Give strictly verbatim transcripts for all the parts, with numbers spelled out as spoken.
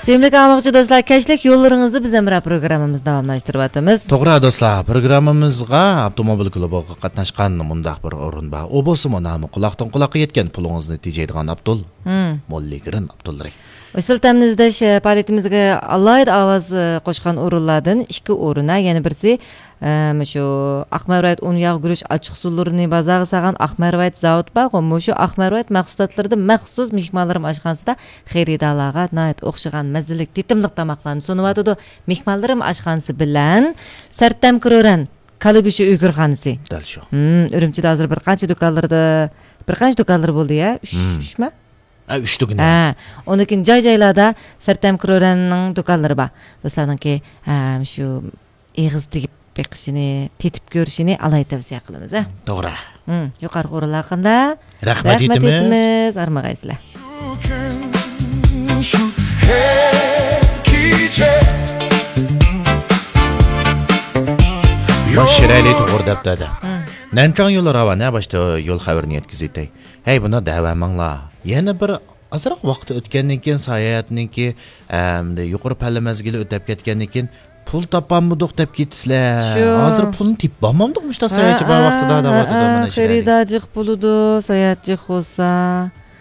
سۆيۈملۈك ئاڭلىغۇچى دوستلار، كەچلىك يوللىرىڭىزدا بىز ھەمراھ پروگراممىمىزنى داۋاملاشتۇرۇۋاتىمىز. توغرا دوستلار، پروگراممىمىزغا ئاپتوموبىل كۇلۇبىغا قاتناشقان مۇنداق بىر ئورۇن بار. ئۇ بولسىمۇ نامى قۇلاقتىن قۇلاققا يەتكەن، پۇلىڭىزنى تېجەيدىغان ئابدۇل. مم. موللىگرىن ئابدۇلرەھىم. ئۇسسۇل تەمىنى ئىزدەش پائالىيىتىمىزگە ئالاھىدە ئاۋاز قوشقان ئورۇنلاردىن ئىككى ئورۇن، ھە، يەنە بىرسى، ئە، مۇشۇ ئاق مەرۋايىت ئۇن ياغ گۈرۈچ ئاچچىقسۇلىرىنى بازارغا سالغان ئاق مەرۋايىت زاۋۇت بارغۇ، مۇشۇ ئاق مەرۋايىت مەھسۇلاتلىرىدىن مەخسۇس مېھمانلىرىم ئاشخانىسىدا خېرىدارلارغا ناھايىتى ئوخشىغان مەززىلىك، تېتىملىق تاماقلارنى سۇنۇۋاتىدۇ. مېھمانلىرىم ئاشخانىسى بىلەن سەرتەم كرورەن كالا گۆشى ئۆگرىخانىسى. دەل شۇ. ھىم، ئۈرۈمچىدە ھازىر بىر قانچە دۇكانلىرىدا، بىر قانچە دۇكانلىرى بولدى يا؟ ئۈچ، ھىم. ئۈچمۇ؟ ھە، ئۈچ دۇكان. ھە، ئۇنىڭ كېيىن جاي-جايلاردا سەرتەم كرورەننىڭ دۇكانلىرى بار. دوستلارنىڭكى، ھە، شۇ ئېغىز تېگىپ بېقىشىنى، تېتىپ كۆرۈشىنى ئالاھىدە تەۋسىيە قىلىمىز، ھە. توغرا. ھىم، يۇقىرىقى ئورۇنلار ھەققىدە رەھمەت رەھمەت ئېيتىمىز. ئېيتىمىز. ئارمىغايسىلەر. باش شىرەلى توغرا دەپتۇ. ھىم. نەنچاڭ يولى راۋان، ھە، باشتا يول خەۋىرىنى يەتكۈزۈۋېتەي. ھەي، بۇنى دەۋەرمەڭلار. يەنە بىر ئازراق ۋاقىت ئۆتكەندىن كېيىن، ساياھەتنىڭكى، ئەمدى يۇقىرى پەللە مەزگىلى ئۆتەپ كەتكەندىن كېيىن، پۇل تاپالمىدۇق دەپ كېتىسىلەر. شۇ. ھازىر پۇلنى تېپىپ بولمامدۇق مۇشۇنداق ساياھەتچى بار ۋاقتىدا، دەۋاتىدۇ مانا شۇ. خېرىدار جىق بولىدۇ، ساياھەت جىق بولسا.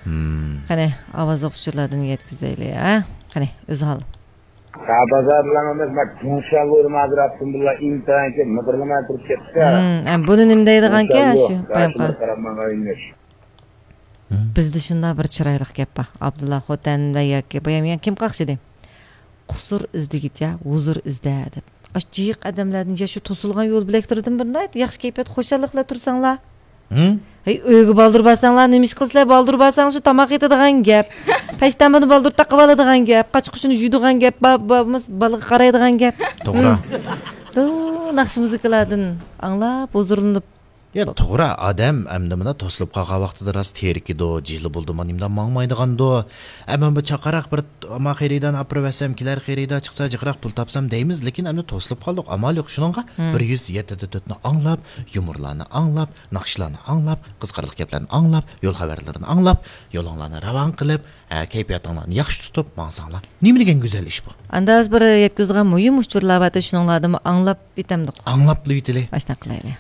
ھىم. قېنى، ئاۋاز ئوقۇش ئۇچۇرلاردىن يەتكۈزەيلى، ھە؟ قېنى، ئۆزھال. ھە، بازار بىلەن ئەمەس، مەن جۇڭشياڭ بويىدا ھازىر ئاپتوموبىللار ئىنتايىن كۆپ، مىغىرلىماي تۇرۇپ كەتتى. ھىم، ئەم، بۇنى نېمە دەيدىغانكەن، شۇڭشياڭ شۇ بوي، بايام قىلىپ. قاراپ ماڭغان ئۆيلەش. ھىم. بىزدە شۇنداق بىر چىرايلىق گەپ بار. ئابدۇللا خوتەن ۋە ياكى بايام يەنە كىم قاقشىدى؟ قۇسۇر ئىزدىگىچە ھۇزۇر ئىزدە دەپ. ئاشۇ جىق ئادەملەردىن يا شۇ توسۇلغان يول بۆلەكلىرىدىن بىرىنى ياخشى كەيپىيات، خۇشاللىق بىلەن تۇرساڭلار. ھىم؟ ھەي، ئۆيگە بالدۇر بارساڭلار، نېمە ئىش قىلىسىلەر؟ بالدۇر بارساڭ، شۇ تاماق ئېتىدىغان گەپ. پەشتەنبىنى بالدۇر تاقىۋالىدىغان گەپ. قاچا-قۇچىنى يۇيىدىغان گەپ. با-، با-، بالىغا قارايدىغان گەپ. توغرا. ھىم. دۇ، ناخشا مۇزىكىلاردىن ئاڭلاپ، ھۇزۇرلىنىپ. يا، توغرا، ئادەم ئەمدى مانا توسۇلۇپ قالغان ۋاقتىدا راست تېرىكىدۇ، جىلە بولدىمۇ، نېمىدە ماڭمايدىغاندۇ. ئەمما بۇ چاقاراق بىر ئاما خېرىدارنى ئاپىرىۋەتسەم، كېلەر خېرىدار چىقسا، جىقراق پۇل تاپسام دەيمىز، لېكىن ئەمدى توسۇلۇپ قالدۇق، ئامال يوق. شۇنىڭغا ھىم. بىر يۈز يەتتە دە تۆتنى ئاڭلاپ، يۇمۇرلارنى ئاڭلاپ، ناخشىلارنى ئاڭلاپ، قىزىقارلىق گەپلەرنى ئاڭلاپ، يول خەۋەرلىرىنى ئاڭلاپ، يولۇڭلارنى راۋان قىلىپ، ھە، كەيپىياتىڭلارنى ياخشى تۇتۇپ ماڭساڭلار، نېمە دېگەن گۈزەل ئىش بۇ. ئاندا ھازىر بىر يەتكۈزىدىغان مۇھىم ئۇچۇرلار بار، شۇنىڭلاردىنمۇ ئاڭلاپ ئېتەمدۇق. ئاڭلاپلا ئېتىلى. ئاشۇنداق قىلايلى.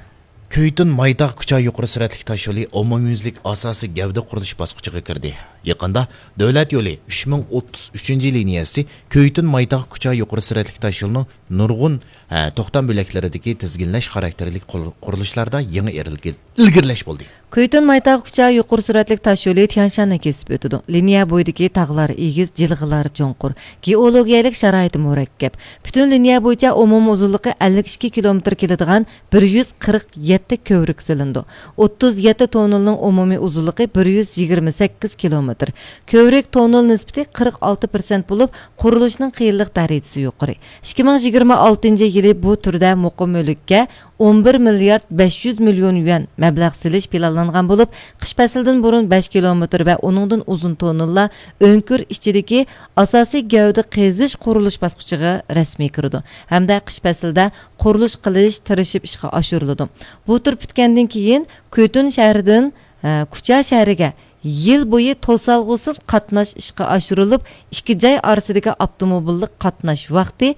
كۆيتۈن مايتاغ كۇچا يۇقىرى سۈرئەتلىك تاشيولى ئومۇميۈزلۈك ئاساسىي گەۋدە قۇرۇلۇش باسقۇچىغا كىردى. يېقىندا دۆلەت يولى ئۈچ مىڭ ئوتتۇز ئۈچىنچى لىنىيەسى كۆيتۈن مايتاغ كۇچا يۇقىرى سۈرئەتلىك تاشيولىنىڭ نۇرغۇن، ھە، توختام بۆلەكلىرىدىكى تىزگىنلەش خاراكتېرلىك قۇر-، قۇرۇلۇشلاردا يېڭى ئىلگىر-، ئىلگىرىلەش بولدى. كۆيتۈن مايتاغ كۇچا يۇقىرى سۈرئەتلىك تاشيولى تيەنشاننى كېسىپ ئۆتىدۇ. لىنىيە بويىدىكى تاغلار ئېگىز، جىلغىلار چوڭقۇر، گېئولوگىيەلىك شارائىتى مۇرەككەپ. پۈتۈن لىنىيە بويىچە ئومۇمىي ئۇزۇنلۇقى ئەللىك ئىككى كىلومېتىر كېلىدىغان بىر يۈز قىرىق يەتتە كۆۋرۈك سېلىنىدۇ. ئوتتۇز يەتتە توننېلنىڭ ئومۇمىي ئۇزۇنلۇقى بىر يۈز يىگىرمە سەككىز كىلومېتىر. كۆۋرۈك توننېل نىسبىتى قىرىق ئالتە پىرسەنت بولۇپ، قۇرۇلۇشنىڭ قىيىنلىق دەرىجىسى يۇقىرى. ئىككى مىڭ يىگىرمە ئالتىنچى يىلى بۇ تۈردە مۇقىم مۈلۈككە ئون بىر مىليارد بەش يۈز مىليون يۈەن مەبلەغ سېلىش پىلانلانغان بولۇپ، قىش پەسلىدىن بۇرۇن بەش كىلومېتىر ۋە ئۇنىڭدىن ئۇزۇن توننېللار ئۆڭكۈر ئىچىدىكى ئاساسىي گەۋدە قېزىش قۇرۇلۇش باسقۇچىغا رەسمىي كىرىدۇ ھەمدە قىش پەسلىدە قۇرۇلۇش قىلىش تىرىشىپ ئىشقا ئاشۇرۇلىدۇ. بۇ تۈر پۈتكەندىن كېيىن، كۆتۈن شەھىرىدىن، ئە، كۇچا شەھىرىگە يىل بويى توسالغۇسىز قاتناش ئىشقا ئاشۇرۇلۇپ، ئىككى جاي ئارىسىدىكى ئاپتوموبىللىق قاتناش ۋاقتى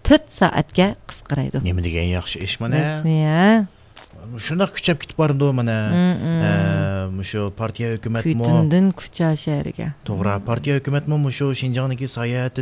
تۆت سائەتكە قىسقىرايدۇ. نېمە دېگەن ياخشى ئىش مانا. رەسمىي، ھە؟ شۇنداق كۈچەپ كېتىپ بارىدۇ مانا. مم، مم. ئە، مۇشۇ پارتىيە ھۆكۈمەتمۇ. كۆتۈندىن كۇچا شەھىرىگە. توغرا، پارتىيە ھۆكۈمەتمۇ مۇشۇ شىنجاڭدىكى ساياھەتتە